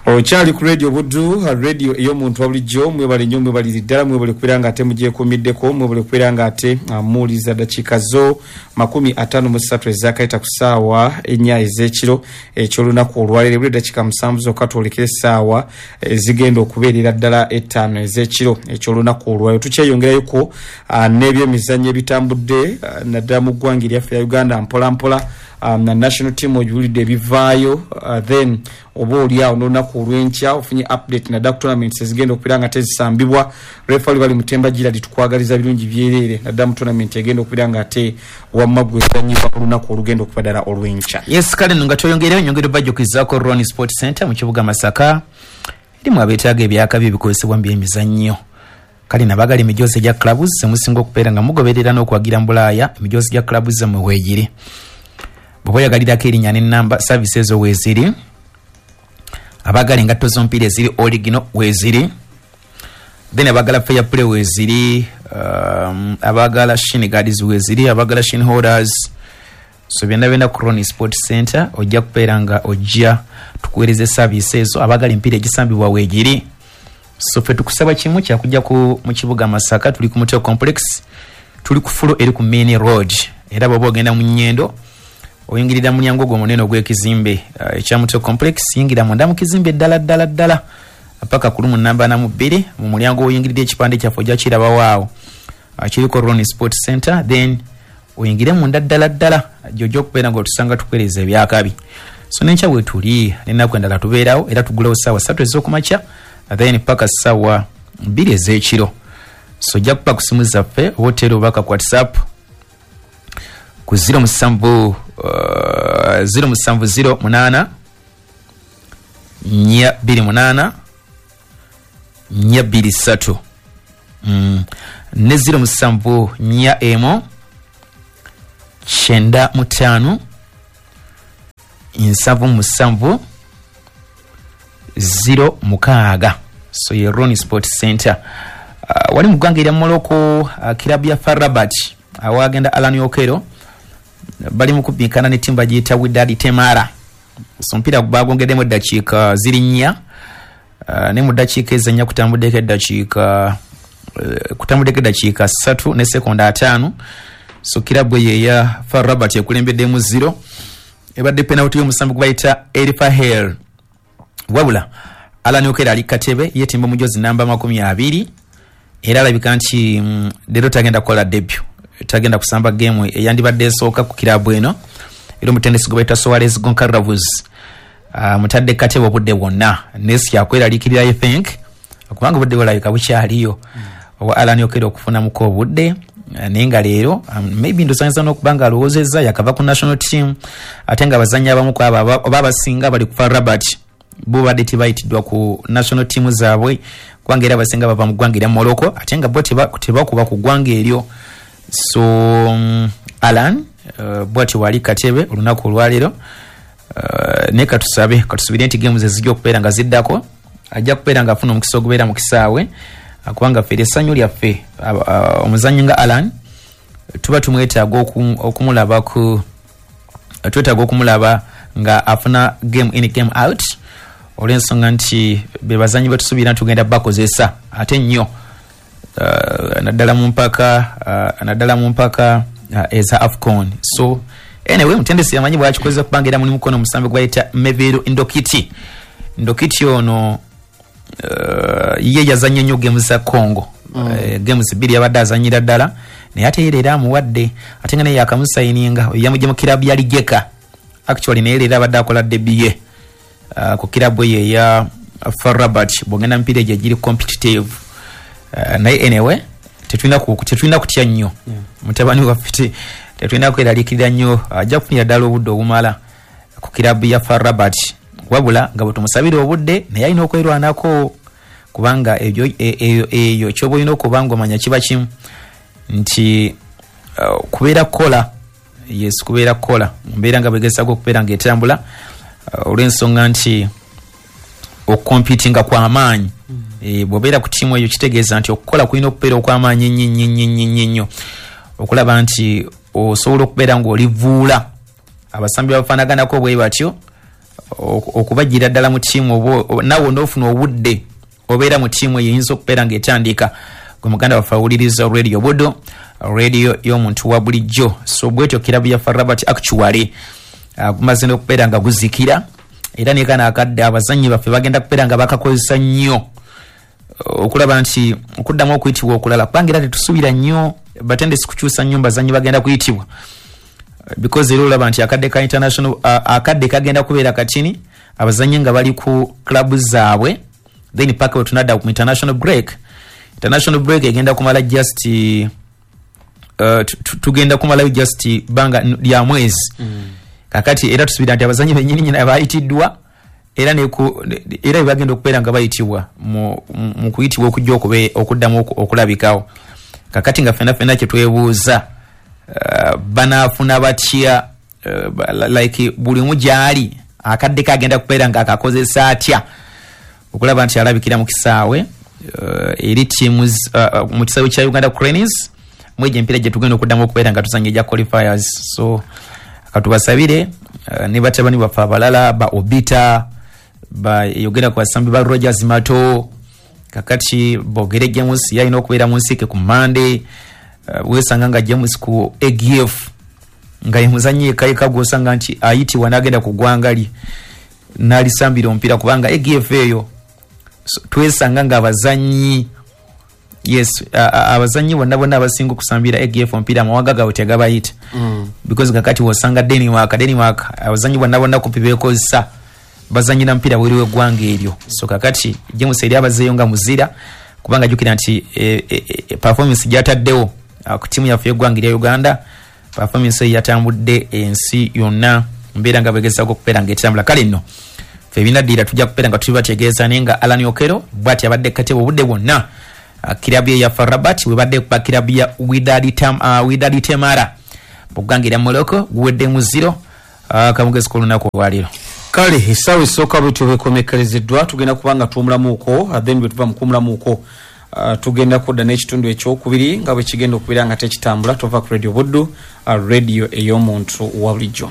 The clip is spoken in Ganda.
Okyali ku Radio Buddu, radio ey'omuntu wa bulijjo. Mwebale nnyo, mwebaliri ddala, mwebale kubeera nga ate mugyekuumiddeko, mwebale kubeera nga ate muwuliriza. Dakiika zo 53 ezakayita ku ssaawa 4 ez'ekiro ekyolunaku olwaleero. Buli dakiika 7 zokka twolekere essaawa ezigenda okubeerera ddala 5 ez'ekiro ekyolunaku olwaleero. Tukyeyongerayoko n'ebyemizannyo ebitambudde, naddala mu ggwanga eryaffe ya Uganda. Mpola mpola na national team ogiwulidde ebivaayo, then oba oli awo n'olunaku olw'enkya ofunye update naddala ku tournaments ezigenda okubeera nga tezisambibwa. Refali bali Mutemba Giradi, tukwagaliza birungi byereere, naddala mu tournament egenda okubeera nga ate wamma gwezanyibwa olunaku olugenda okuba ddala olw'enkya. Yes, kale nno nga tweyongereyo, nyongera obajjukizaako Ron Sport Center mu kibuga Masaka, erimu abeetaaga ebyakabi ebikozesebwa mu byemizannyo. Kale nabagala emijoozi egya clubs zemusinga okubeera nga mugoberera n'okwagira mu Bulaaya, emijoozi gya clubs zammwe weegiri. Bw'oba oyagalirako erinnya n'ennamba, service ezo weeziri. Abaagala engatto z'omupiira eziri original weeziri. Then abaagala fair play weeziri, abaagala shin guards weeziri, abaagala shin holders. So byonna byonna ku Ron Sport Center ojja kubeera nga ojja tukuweereza service ezo. Abaagala emipiira egisambibwa weegiri. So ffe tukusaba kimu kyakujja ku mu kibuga Masaka, tuli ku Mutel Complex, tuli ku floor eri ku main road. Era bw'oba ogenda mu Nyendo, oyingirira mu mulyango ogwo omunene ogw'ekizimbe ekya Mutel Complex. Yingira munda mu kizimbe ddala ddala ddala paka ku room namba 42. Mu mulyango oyingirira, ekipande kyaffe ojja kirabawo awo, kiriko Ron Sport Center. Then oyingire munda ddala ddala, gyojja okubeera nga otusanga tukuweereza ebyakabi. So nenkya bwetuli, n'ennaku endala tubeerawo, era tugulawo ssaawa 3 ez'okumakya, then paka ssaawa 2 ez'ekiro. So ojja kuba ku simu zaffe oba oteera obubaka ku WhatsApp ku 07 0708 428 423, ne 0741 95 77 06. So ye Ron Sport Center. Wali mu ggwanga erya Morocco, kirabu ya FAR Rabat awagenda Alan Okero bali mu kubinkana ne ttiimu bagiyita Widad Temara. So omupiira bagongeddemu eddakiika ziri 4, ne mu ddakiika ezo 4 kutambuddeko eddakiika 3 ne sekonda 50. So kirabu eyo eya FAR Rabat ekulembeddemu 0. Ebadde penalty y'omusambi gwe bayita Elfahel. Wabula Alan Okero ali katebe, yetimba omujozi namba 20, era alabika nti leero tagenda kukola debut, tagenda kusamba game eyandibadde esooka ku kirabu eno. Era omutendesi gwe bayita Soares Goncalves mutadde katebe obudde bwonna, naye si kyakweraliikirira, I think, kubanga obudde bulabika bukyaliyo owa Alan Okero okufunamuko obudde. Naye nga leero maybe ndosanyisa n'okuba nga alowoozezza yakava ku national team, ate nga abazannyi abamu ku abo oba abasinga bali ku FAR Rabat bo badde tebayitiddwa ku national team zaabwe, kubanga era abasinga bava mu ggwanga erya Morocco, ate nga bo tebakuba ku ggwanga eryo. So Alan bwatyo wali katebe olunaku olwaleero, naye katusabe, katusubire nti games ezijja okubeera nga ziddako ajja kubeera nga afuna omukisa ogubeera mu kisaawe, kubanga ffe essanyu lyaffe omuzannyi nga Alan tuba tumwetaaga okumulaba ku twetaaga okumulaba nga afuna game in, game out, olw'ensonga nti be bazannyi betusuubira nti tugenda bakozesa ate nnyo, naddala mu mpaka eza AFCON. So anyway, mutendesi yamanyi bwakikozesa, kubanga era mulimu kono omusambi gwe bayita Mevero Ndokiti. Ndokiti ono ye yazannye nnyo games za Congo, games 2 yabadde azanyira ddala, naye ate era amuwadde, ate nga naye yakamusayininga, yamugye mu kirabu ya Rijeka actually, naye leero abadde akola debut ye ku kirabu eyo eya FAR Rabat. Bwogenda mipiira egyo egiri competitive, naye anyway tetulina kutya nnyo. Mutabani waffe tetulina kweraliikirira nnyo, ajja kufunira ddala obudde obumala ku kirabu ya FAR Rabat. Wabula nga bwe tumusabira obudde, naye alina okwerwanako, kubanga ebyo eyo kyoba olina okuba nga omanya kiba kimu nti kubeera kukola, yes, kubeera kukola mu mbeera nga bwegezaako okubeera ng'etambula, olw'ensonga nti okukompitinga kw'amaanyi. Bw'obeera ku ttiimu eyo, kitegeeza nti okukola kulina okubeera okw'amaanyi ennyo ennyo ennyo ennyo ennyo ennyo, okulaba nti osobola okubeera ng'olivuula abasambi bafaanaganako bwe batyo. Okubagira ddala mu ttiimu oba naawe onoofuna obudde obeera mu ttiimu eyo eyinza okubeera ng'etandika. Gwe muganda waffe awuliriza Radio Buddu, radio y'omuntu wa bulijjo. So bwetyo kirabu ya FAR Rabat actually gumaze n'okubeera nga guzikira, era ne kano akadde abazannyi baffe bagenda kubeera nga bakakozesa nnyo okulaba nti okuddamu okuyitibwa okulala, kubanga era tetusuubira nnyo batendesi kukyusa nnyo bazannyi bagenda kuyitibwa, because era olaba nti akadde ka international akadde kagenda kubeera katini, abazannyi nga bali ku club zaabwe, then paka we tunadda ku international break. International break egenda kumala just tugenda kumalayo just banga lya mwezi. Kakati era tusuubira nti abazannyi bennyini nyini abayitiddwa era era bebagenda okubeera nga bayitibwa mu kuyitibwa okujja okuddamu okulabikawo. Kakati nga ffenna ffenna kye twebuuza, banaafuna batya, like buli omu gy'ali akadde kagenda kubeera nga akakozesa atya okulaba nti alabikira mu kisaawe eri teams mu kisaawe kya Uganda Cranes mwegyo empiira gye tugenda okuddamu okubeera nga tuzannya egya qualifiers. So katubasabire ne batabani baffe abalala ba Obita, bayogera ku basambi ba Rogers Mato, kakati Bogere James yalina okubeera mu nsiike ku Mande. Wesanga nga James ku AGF nga ye muzannyi yekka gw'osanga nti ayitibwa n'agenda ku ggwanga lye n'alisambira omupiira, kubanga AGF eyo twesanga nga abazannyi, yes, abazannyi bonna bonna abasinga okusambira AGF omupiira amawanga gaabwe tegabayita, because kakati wosanga Denmark abazannyi bonna bonna kumpi beekozesa bazannyira mupiira bweru w'eggwanga eryo. So kakati James eri abazeeyo nga muzira, kubanga jjukira nti performance gy'ataddewo ku ttiimu yaffe y'eggwanga erya Uganda, performance eyo yatambudde ensi yonna, mbeera nga bwegezaako okubeera ng'etambula. Kale nno ffe ebinaddira tujja kubeera nga tubibategeeza, naye nga Alan Okello bw'ati abadde katebe obudde bwonna. Kirabu ye ya FAR Rabat webadde kuba kirabu ya Wydad Temara mu ggwanga erya Morocco, guweddemu 0. Kamugezi k'olunaku olwaleero. Kale essaawa esooka bwetyo bwekomekkerezeddwa, tugenda kuba nga tuwumulamuuko, then bwe tuva mu kuwumulamuuko tugenda kudda n'ekitundu ekyokubiri nga bwe kigenda okubeera nga tekitambula. Tova ku Radio Buddu, radio ey'omuntu wa bulijjo.